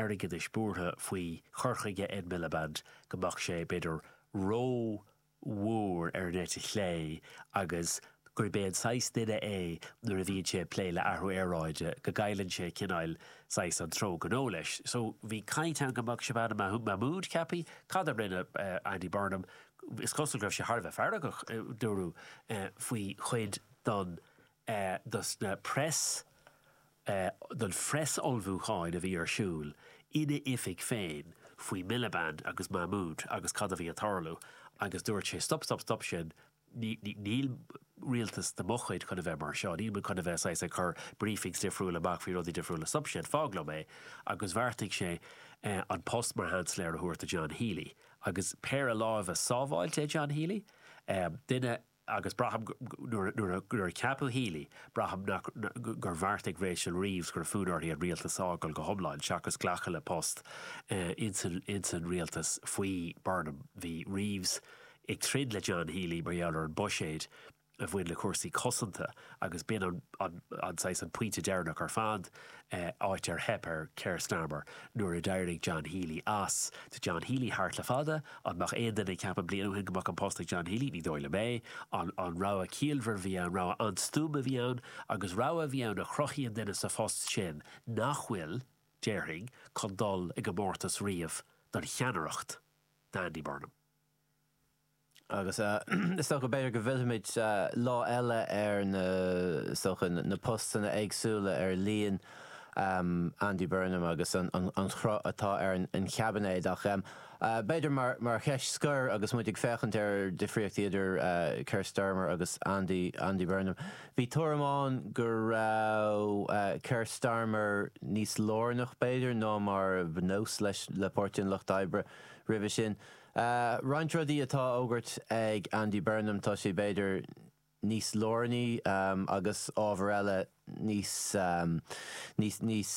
airgeadais buartha faoi chur chuige Ed Miliband, go mbeadh sé, b'fhéidir, ró mhór ar an eite chlé agus gurb é an saghas duine é nuair a bhíonn sé ag plé le athrú aeráide go gcailleann sé cineál saghas an treo gnó leis. So bhí caint ann go mbeadh Shabana Mahmood ceaptha. Cad a rinne Andy Burnham? Is cosúil go raibh sé thar a bheith feargach, dúradh, faoi chuid don dos na press den phreas ullmhúcháin a bhí ar siúl ina oifig féin faoi Miliband agus Mahmood agus cad a bhí ag tarlú agus dúirt sé stop stop stop sin, níl rialtas de mo chuid chun a bheith mar seo, níl muid chun a bheith saghas ag cur briefings difriúla amach faoi rudaí difriúla, stop sin, fág liom é agus bheartaigh sé an post mar Sheansailéir a thabhairt do John Healey agus péire láimhe sábháilte é John Healey, duine Agus braithim nuair a ceapadh Healey, braithim nach, gur bheartaigh Rachel Reeves go raibh fonn uirthi an rialtas a fhágáil go hiomlán seachas glacadh le post ins an rialtas faoi Burnham. Bhí Reeves ag troid le John Healey mar gheall ar an buiséad a bhain le cúrsaí cosanta agus b'in an an saghas an pointe deireanach ar fad. áit ar theip ar Keir Starmer nuair a d'éirigh John Healey as. Tá John Healey thart le fada. An mbeadh aon duine ag ceapadh bliain ó shin go mbeadh an post ag John Healey? Ní dóigh liom é. An rogha ciallmhar a bhí ann, rogha an-stuama a bhí ann agus rogha a bhí ann a chruthaíonn duine sa phost sin nach bhfuil, déarfainn, chun dul i gcomórtas riamh don cheannaireacht d'Andy Burnham. Agus is dócha, b'fhéidir go bhfillfimid lá eile ar na, is dócha, na postanna éagsúla ar líon Andy Burnham agus an chruth atá ar an chaibinéad. Ach b'fhéidir mar cheist scoir agus muid ag féachaint ar difríochtaí idir Keir Starmer agus Andy, Andy Burnham, bhí tuairim ann go raibh Keir Starmer níos lárnach, b'fhéidir, ná mar ba nós leis, le Páirtí an Lucht Oibre roimhe sin. Roinnt rudaí atá á fhógairt ag Andy Burnham, tá sé b'fhéidir níos lárnaí agus ábhar eile níos, níos, níos,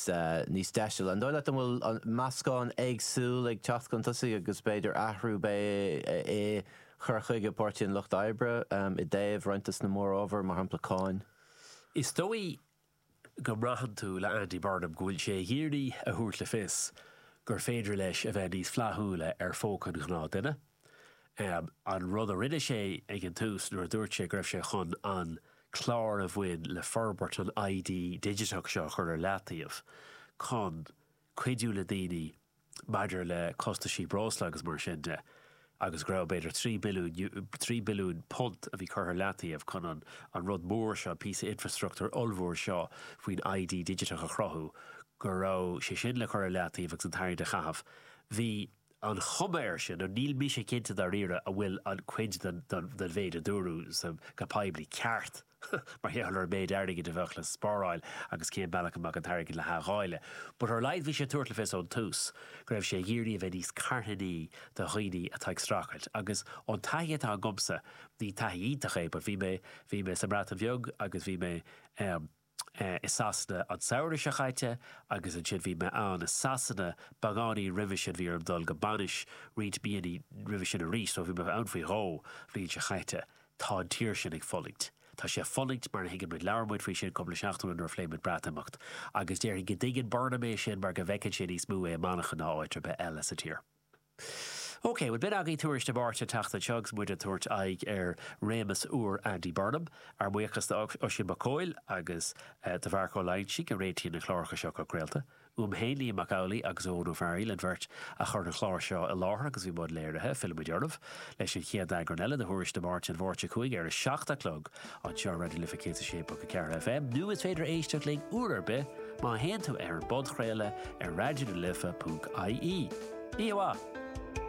níos deisile. An dóigh leat an bhfuil meascán éagsúil ag teacht chun tosaigh agus b'fhéidir athrú i chur chuige Páirtí an Lucht Oibre i dtaobh roinnt de na mórábhair, mar shampla cáin? Is dóigh go mbraitheann tú le Andy Burnham go bhfuil sé ag iarraidh a thabhairt le fios gur féidir leis a bheith níos flaithiúla ar phóca an ghnáthduine. An rud a rinne sé ag an tús nuair a dúirt sé go raibh sé chun an clár a bhain le forbairt an ID digiteach seo a chur ar leataobh chun cuidiú le daoine maidir le costaisí breosla agus mar sin de, agus go raibh b'fhéidir 3 billiún, £3 billiún a bhí curtha ar leataobh chun an an rud mór seo, píosa infreastruchtúir ollmhór seo faoin ID digiteach a chruthú, go raibh sé sin le cur ar leataobh agus an t-airgead a chaitheamh. Bhí an chuma air sin, nó níl mise cinnte dáiríre an bhfuil an cuid den den mhéid a dúradh sa go poiblí ceart. mar gheall ar an méid airgid a bheadh le spáráil agus cén bealach a mbeadh an t-airgead le hathdháileadh. But ar a laghad bhí sé ag tabhairt le fios ón tús go raibh sé ag iarraidh a bheith níos carthanaí do dhaoine atá ag streachailt. Agus ón taithí atá agamsa, ní taithí iontach é, but bhí mé, bhí mé sa mBreatain Bheag agus bhí mé i Sasana an samhradh seo chaite agus ansin bhí mé ann i Sasana beagáinín roimhe sin, bhí orm dul go bainis roinnt míonna roimhe sin arís, so bhí mé ann faoi dhó an bhliain seo chaite. Tá an tír sin ag fulaingt. Tá sé ag fulaingt mar a thuigeann muid. Labhair muid faoi sin cúpla seachtain ó shin nuair a phléigh muid Breatimeacht. Agus déarfainn go dtuigeann Burnham é sin mar go bhfeiceann sé níos mó é i Manchain ná áit ar bith eile sa tír. OK, bhuel b'in agaibh Tuairisc na Máirte an tseachtain seo agus muid ag tabhairt aghaidh ar réimeas úr Andy Burnham. Ár mbuíochas do Oisín Mac Cóil agus do Mharc Ó Loingsigh a réitíonn na cláracha seo go craolta. Uaim féin, Liam Mac Amhlaigh agus Eoin Ó Fearghaíl, an bheirt a chuir an clár seo i láthair agus i mbun léirithe. Fillfimid oraibh leis an chéad eagrán eile de Thuairisc na Máirte an Mháirt seo chugainn ar a 7 a chlog anseo ar Raidió na Life 106.4 FM nó is féidir éisteacht linn uair ar bith má théann tú ar an bpodchraoladh ar raidionalife.ie. Oíche mhaith!